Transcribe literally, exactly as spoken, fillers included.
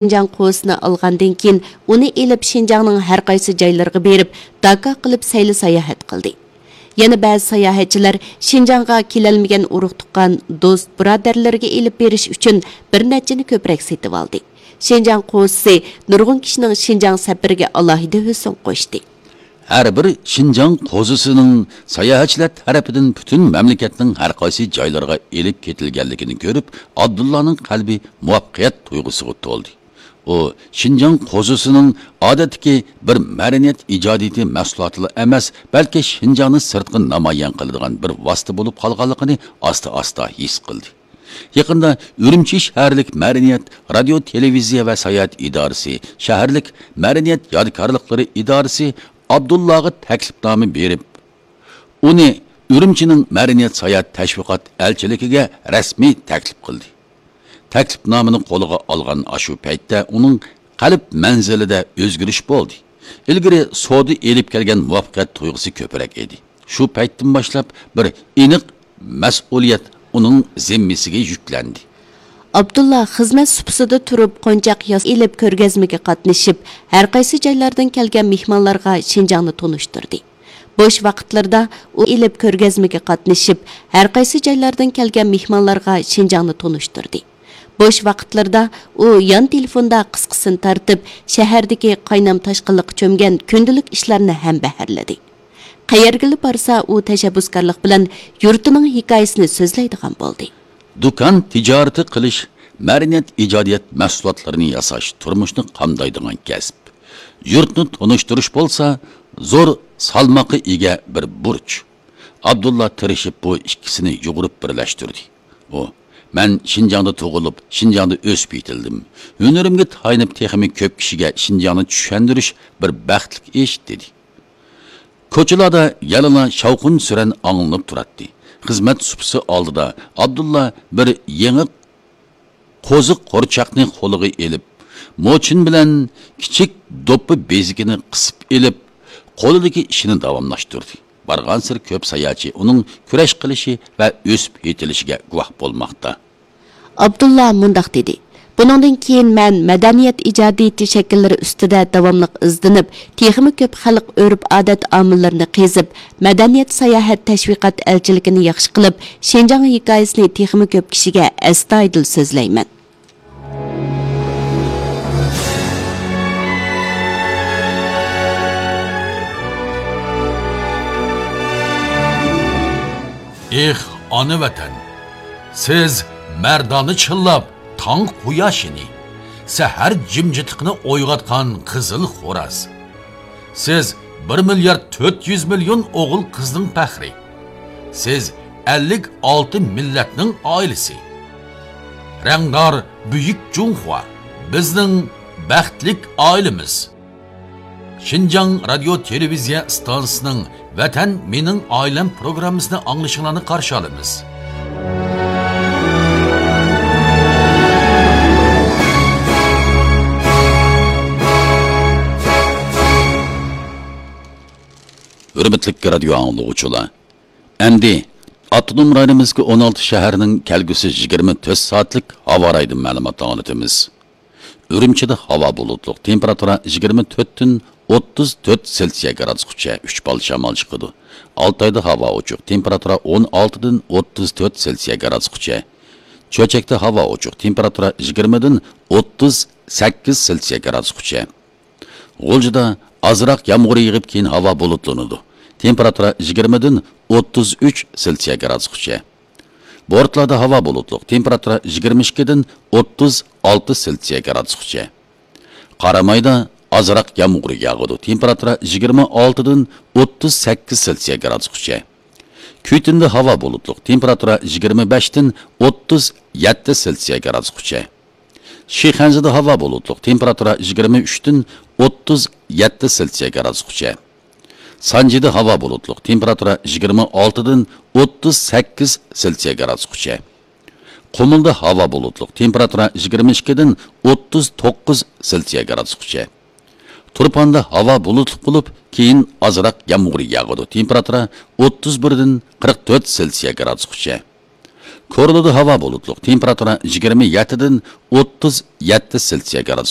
شىنجاڭ قوزىسىنى ئالغاندىن كېيىن، ئۇنى ئېلىپ شىنجاڭنىڭ ھەر قايسى جايلىرىغا بېرىپ، داكا قىلىپ سەيلە ساياھەت قىلدى. يەنە بەزى ساياھەتچىلەر شىنجاڭغا كېلەلمىگەن ئۇرۇق-تۇغقان، دوست-بۇرادەرلىرىگە ئېلىپ بېرىش ئۈچۈن بىر نەچچىنى كۆپرەك سېتىۋالدى. شىنجاڭ قوزىسى نۇرغۇن كىشىنىڭ شىنجاڭ سەپىرىگە ئالاھىدە ھۆسن قوشتى. ھەر بىر شىنجاڭ قوزىسىنىڭ ساياھەتچىلەر تەرىپىدىن پۈتۈن مەملىكەتنىڭ ھەر قايسى جايلىرىغا ئېلىپ كېتىلگەنلىكىنى كۆرۈپ، ئابدۇللانىڭ قەلبى مۇۋەپپەقىيەت تۇيغۇسىغا تولدى. ئۇ شىنجاڭ قوزىسىنىڭ ئادەتتىكى بىر مەدەنىيەت ئىجادىيىتى مەھسۇلاتىلا ئەمەس، بەلكى شىنجاڭنى سىرتقا نامايان قىلىدىغان بىر ۋاسىتە بولۇپ قالغانلىقىنى ئاستا-ئاستا ھېس قىلدى. يېقىندا ئۈرۈمچى شەھەرلىك مەدەنىيەت، رادىيو، تېلېۋىزىيە ۋە ساياھەت ئىدارىسى، شەھەرلىك مەدەنىيەت يادىكارلىقلىرى ئىدارىسى ئابدۇللاغا تەكلىپنامە بېرىپ، ئۇنى ئۈرۈمچىنىڭ مەدەنىيەت ساياھەت تەشۋىقات ئەلچىلىكىگە رەسمىي تەكلىپ قىلدى. تەكلىپنامىنى قولىغا ئالغان ئاشۇ پەيتتە ئۇنىڭ قەلب مەنزىلىدە ئۆزگىرىش بولدى. ئىلگىرى سودا ئېلىپ كەلگەن مۇۋەپپەقىيەت تۇيغۇسى كۆپرەك ئىدى. شۇ پەيتتىن باشلاپ بىر ئېنىق مەسئۇلىيەت ئۇنىڭ زىممىسىگە يۈكلەندى. ئابدۇللا خىزمەت سۇپىسىدا تۇرۇپ، قونچاق ياس ئېلىپ كۆرگەزمىگە قاتنىشىپ، ھەر قايسى جايلاردىن كەلگەن مېھمانلارغا شىنجاڭنى تونۇشتۇردى. بوش ۋاقىتلىرىدا ئۇ ئېلىپ كۆرگەزمىگە قاتنىشىپ، ھەر قايسى جايلاردىن كەلگەن مېھمانلارغا شىنجاڭنى تونۇشتۇردى. بوش ۋاقىتلىرىدا ئۇ يان تېلېفوندا قىسقىسىنى تارتىپ، شەھەردىكى قاينام تاشقىنلىققا چۆمگەن كۈندىلىك ئىشلارنى ھەمبەھىرلىدى. قەيەرگىلا بارسا، ئۇ تەشەببۇسكارلىق بىلەن يۇرتىنىڭ ھېكايىسىنى سۆزلەيدىغان بولدى. دۇكان تىجارىتى قىلىش، مەدەنىيەت ئىجادىيەت مەھسۇلاتلىرىنى ياساش تۇرمۇشنى قامدايدىغان كەسىپ. يۇرتنى تونۇشتۇرۇش بولسا زور سالماققا ئىگە بىر بۇرچ. ئابدۇللا تىرىشىپ بۇ ئىككىسىنى يۇغۇرۇپ بىرلەشتۈردى. ئۇ، مەن شىنجاڭدا تۇغۇلۇپ، شىنجاڭدا ئۆسۈپ يېتىلدىم. ھۈنىرىمگە تايىنىپ تېخىمۇ كۆپ كىشىگە شىنجاڭنى چۈشەندۈرۈش بىر بەختلىك ئىش، دېدى. كوچىلاردا يەنىلا شاۋقۇن-سۈرەن ئاڭلىنىپ تۇراتتى. خىزمەت سۇپىسى ئالدىدا ئابدۇللا بىر يېڭى قوزۇق قورچاقنى قولىغا ئېلىپ، موچىن بىلەن كىچىك دوپپا بېزىكىنى قىسىپ ئېلىپ، قولىدىكى ئىشىنى داۋاملاشتۇردى. بارغانسېرى كۆپ ساياھەتچى ئۇنىڭ كۈرەش قىلىشى ۋە ئۆسۈپ يېتىلىشىگە گۇۋاھ بولماقتا. ئابدۇللا مۇنداق دېدى: بۇنىڭدىن كېيىن مەن مەدەنىيەت ئىجادىيىتى شەكىللىرى ئۈستىدە داۋاملىق ئىزدىنىپ، تېخىمۇ كۆپ خەلق ئۆرپ-ئادەت ئامىللىرىنى قېزىپ، مەدەنىيەت ساياھەت تەشۋىقات ئەلچىلىكىنى ياخشى قىلىپ، شىنجاڭ ھېكايىسىنى تېخىمۇ كۆپ كىشىگە ئەستايىدىل سۆزلەيمەن. ئېھ، ئانا ۋەتەن! سىز مەردانە چىللاپ تاڭ قۇياشىنى، سەھەر جىمجىتلىقىنى ئويغاتقان قىزىل خوراز. سىز بىر مىليارد تۆت يۈز مىليون ئوغۇل-قىزنىڭ پەخرى. سىز ئەللىك ئالتە مىللەتنىڭ ئائىلىسى. رەڭدار بۈيۈك جۇڭخۇا، بىزنىڭ بەختلىك ئائىلىمىز. شىنجاڭ رادىيو تېلېۋىزىيە ئىستانسىسىنىڭ ۋەتەن مېنىڭ ئائىلەم پروگراممىسىنى ئاڭلىشىڭلارنى قارشى ئالىمىز. ھۆرمەتلىك رادىيو ئاڭلىغۇچىلار، ئەمدى ئاپتونوم رايونىمىزدىكى ئون ئالتە شەھەرنىڭ كەلگۈسى يىگىرمە تۆت سائەتلىك ھاۋا رايىدىن مەلۇمات ئاڭلىتىمىز. ئۈرۈمچىدە ھاۋا بۇلۇتلۇق، تېمپېراتۇرا يىگىرمە تۆتتىن ئوتتۇز تۆت سېلسىيە گرادۇسقىچە، ئۈچ بال شامال چىقىدۇ. ئالتايدا ھاۋا ئوچۇق، تېمپېراتۇرا ئون ئالتىدىن ئوتتۇز تۆت سېلسىيە گرادۇسقىچە. چۆچەكتە ھاۋا ئوچۇق، تېمپېراتۇرا يىگىرمىدىن ئوتتۇز سەككىز سېلسىيە گرادۇسقىچە. غۇلجىدا ئازراق يامغۇر يېغىپ، كېيىن ھاۋا بۇلۇتلىنىدۇ. تېمپېراتۇرا يىگىرمىدىن ئوتتۇز ئۈچ سېلسىيە گرادۇسقىچە. بورتالادا ھاۋا بۇلۇتلۇق، تېمپېراتۇرا يىگىرمە ئىككىدىن ئوتتۇز ئالتە سېلسىيە گرادۇسقىچە. قارامايدا ئازراق يامغۇر ياغىدۇ، تېمپېراتۇرا يىگىرمە ئالتىدىن ئوتتۇز سەككىز سېلسىيە گرادۇسقىچە. كۈيتۈندە ھاۋا بۇلۇتلۇق، تېمپېراتۇرا يىگىرمە بەشتىن ئوتتۇز يەتتە سېلسىيە گرادۇسقىچە. شىخەنزىدە ھاۋا بۇلۇتلۇق، تېمپېراتۇرا يىگىرمە ئۈچتىن ئوتتۇز يەتتە سېلسىيە گرادۇسقىچە. سانجىدا ھاۋا بۇلۇتلۇق، تېمپېراتۇرا يىگىرمە ئالتىدىن ئوتتۇز سەككىز سېلسىيە گرادۇسقىچە. قۇمۇلدا ھاۋا بۇلۇتلۇق، تېمپېراتۇرا يىگىرمە ئىككىدىن ئوتتۇز توققۇز سېلسىيە گرادۇسقىچە. تۇرپاندا ھاۋا بۇلۇتلۇق بولۇپ، كېيىن ئازراق يامغۇر ياغىدۇ، تېمپېراتۇرا ئوتتۇز بىردىن قىرىق تۆت سېلسىيە گرادۇسقىچە. كورلىدا ھاۋا بۇلۇتلۇق، تېمپېراتۇرا يىگىرمە يەتتىدىن ئوتتۇز يەتتە سېلسىيە گرادۇس